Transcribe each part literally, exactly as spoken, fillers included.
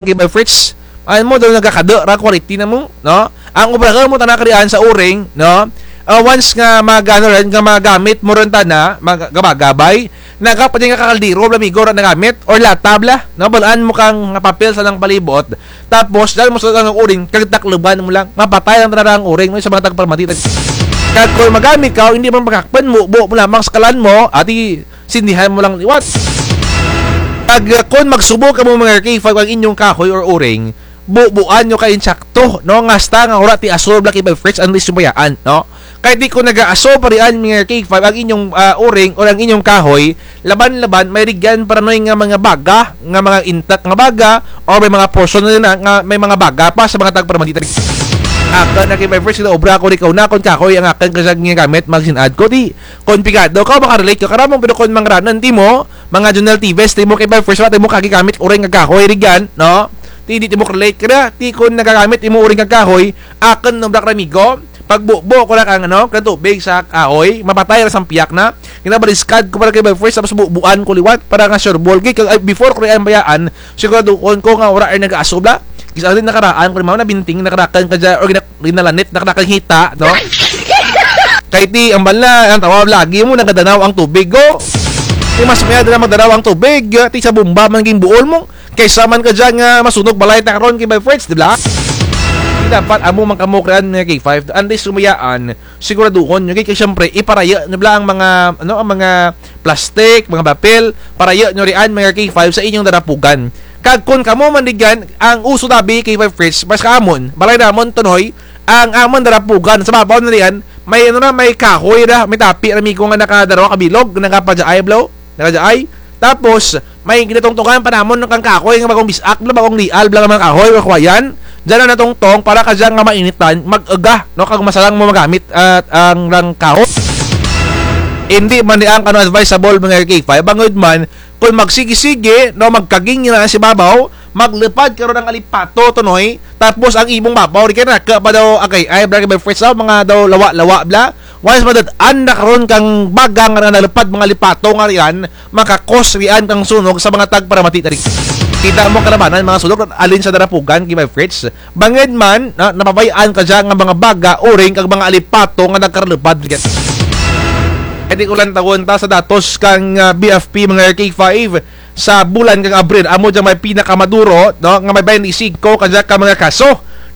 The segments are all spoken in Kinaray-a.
Kay Bay Fritz, ano mo, daw nagakada ra quality na mo, no? Ang obrahon mo tana karian sa uring, no? Ah, once nga mag-, ano rin, nga magamit mo rin tana, mag-, gabagabay, nagapad nga kakaldero, bala, amigo, ra nagamit, or lata, bala, no? Balaan mo kang papel sa nang palibot, tapos, dyan mo sa nang uring, kag takluban mo lang, mapatay lang tana ang uring, no? Sa mga tagparamati, tag-, kag kung magamit ka, hindi man pagkakpan mo, buo mo lamang sa kalan mo, ati, sindihan mo lang liwat. Kag, ah, kon magsubo kamo mga K five ang inyong kahoy or uring, bubuan nyo kay insakto, no? Nga hasta nga wara ti aso bala kay Bay Fritz, ang di sumayaan, no? Kay ti kon nag-aaso pa rian mga K five ang inyong, ah, uring or ang inyong kahoy, laban-laban, may rugyan pa ranoy nga mga baga, nga mga intact nga baga, or may mga portion na nga may mga baga pa sa mga tagparamati. Akun na kay Bay Fritz, kinaobra ko rin kauna, kon kahoy ang akun kag ginagamit, magsin-ad ko, ti, kon pigado ka, makarelate ka karamong, pero kon mangranan, ti mo, mga Junel Tives, ti mo kay Bay Fritz, ti mo kagigamit, uring nga kahoy, rugyan, no? Ti, di ti mo relate ka na, ti kon nagagamit, ti mo uring nga kahoy, akun, no, bala, amigo, pagbubo ko na kang, ano, kang tubig sa kahoy, mapatay ra sa piyak na, ginabaliskad ko para kay Bay Fritz, tapos bubuan ko liwat, para nga sure ball, kay, kag, ay, before ko rin bayaan, siguraduhon ko nga wara rin nag-aaso bala. Kis-a rin nakaraan, kung mao na binting, nakarakan ka dyan, or gina-, ginalanit, nakarakan hita, no? Kay ti, ang bala, ang tawag lagi mo, nagadanaw ang tubig, go. Ti mas mayad na magdanaw ang tubig, ti sa bomba man ginbuol mo. Kaysa man ka dyan nga masunog balay ta karon kay Bay Fritz, di bala? Ti dapat amo man kamo karian mga K five, antes sumayaan, siguraduhon nyo, kay, kay siyempre, iparaya nyo bala ang mga, ano, ang mga plastic, mga papel, paraya nyo rian, mga K five, sa inyong darapugan. Kag kon kamo man rugyan, ang uso dabi kay Bay Fritz, mas kaamon, balay namon, Tonoy, ang amon darapugan, sa babaw na rian, may, ano na, may kahoy ra, may tapi ra, amigo, nga nakadarwa ka bilog, nakapadyaay, bala, nakadyaay. Tapos, may ginatungtungan pa namon kang kahoy nga bag-ong bis-ak, bala, bag-ong lial, bala, nga mga kahoy, or kawayan. Dyan ang natungtong para kadya nga mainitan, mag-aga, no, kag masalang mo magamit, ah, ang rang kahoy. Hindi man rian kano advisable, mga K five, bangud man, kon magsigi-sigi, no, magkaging na sa babaw, maglupad karon ang alipato, Tonoy, tapos ang imong babaw, di kay naka pa daw, agay, ay, bala kay Bay Fritz, ah, mga daw lawa-lawa, bala, once madat-an na karon kang baga nga nalupad mga alipato nga rian, maka-cause rian kang sunog sa mga tagparamati tari. Kita mo kalabanan mga sunog, alin sa darapugan, kay Bay Fritz. Bangud man, na, napabayaan ka dyan nga mga baga, uring, kag mga alipato nga nagkaralupad rian. Kay ti ko lantawon ta sa datos kang, ah, B F P, mga K five, sa bulan kang Abril, amo dyan may pinakamaduro, no, nga may baynte singko kadya ka mga kaso,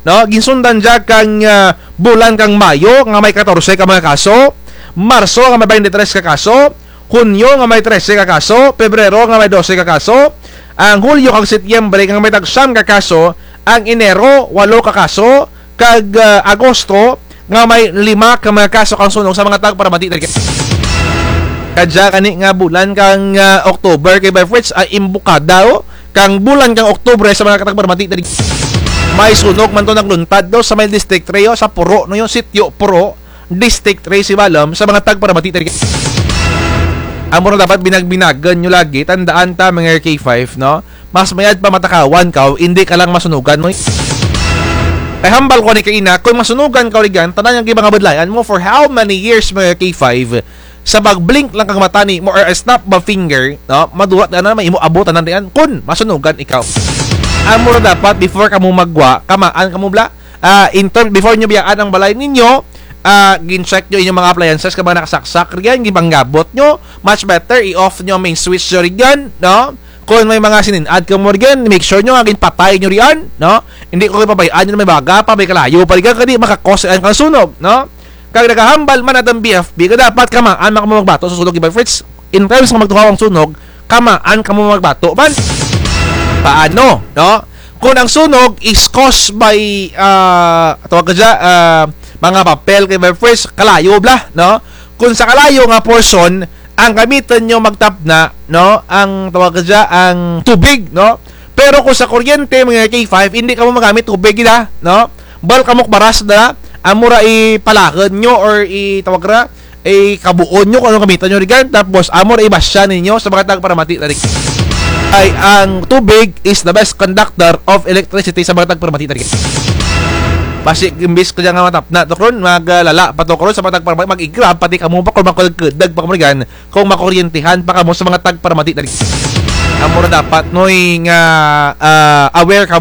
no, ginsundan dyan kang, ah, bulan kang Mayo, nga may katorse ka mga kaso, Marso, nga may baynte tres ka kaso, Hunyo, nga may trese ka kaso, Pebrero, nga may dose ka kaso, ang Hulyo kag Setyembre, nga may tag-siyam ka kaso, ang Enero, walo ka kaso, kag, ah, Agosto, nga may lima ka mga kaso kang sunog sa mga tagparamati tari. Kadya kani nga bulan kang, ah, October kay Bay Fritz ay imbukada, o, kang bulan kang Oktubre sa mga tagparamati tari. May sunog man to nagluntad, no, sa may District three, o, sa Puro, no, yung sitio Puro, District three, Sibalom, sa mga tagparamati tari. Amo ra dapat binag-binagan nyo lagi, tandaan ta, mga K five, no? Mas mayad pa matakawan ka, hindi ka lang masunugan, no? Kay hambal ko ni kaina, kung masunugan ka, rigan, tanan yang gibangabudlayan mo for how many years, mga K five, sa pag-blink lang kang mata ni mo or a snap of a finger, no? Madura na may imo abot tanan rian, kun masunugan ikaw. Amo ra dapat, before kamo magwa, kamaan kamo bala. Ah, in term, before nyo biyaan ang balay ninyo, ah, gin-check nyo inyong mga appliances, kag mga nakasaksak rian, ginpanggabot nyo, much better, i-off nyo ang main switch nyo rian, no? Kung may mga sininad kamo rian, make sure nyo nga ginpatay nyo rian, no? Hindi ko ipabay-an nyo na may baga pa, may kalayo pa rian, kadi maka-cause rian kang sunog, no? Kag nagahambal man atong B F P, nga dapat kamaan man kamo magbato sa sunog, Bay Fritz. In terms nga magtuhaw ang sunog, kamaan kamo magbato man. Paano, no? Kung ang sunog is caused by, ah, tawag ka dyan, ah, mga papel kay Bay Fritz, kalayo bala, no? Kung sa kalayo nga portion, ang gamiton nyo magtapna, no? Ang tawag ka dyan, ang tubig, no? Pero kung sa kuryente, mga K five, hindi kamo magamit tubig nila, no? Bal kamo baras na, amo ra ipalahod nyo or itawag ra, ikabuon nyo kung ano gamiton nyo rigan, tapos amo ra ibasya ninyo sa mga tagparamati tari. Ay, ang tubig is the best conductor of electricity sa mga tagparamati tari. Basi, imbis ka dyan nga matapna to karon, maglala pa to karon sa mga tagparamati, mag-igrab, pati kamo pa kung makulagkudag pa kamo rigan, kung makuryentehan pa kamo sa mga tagparamati tari. Amo ra dapat, Noy, nga, ah, aware ka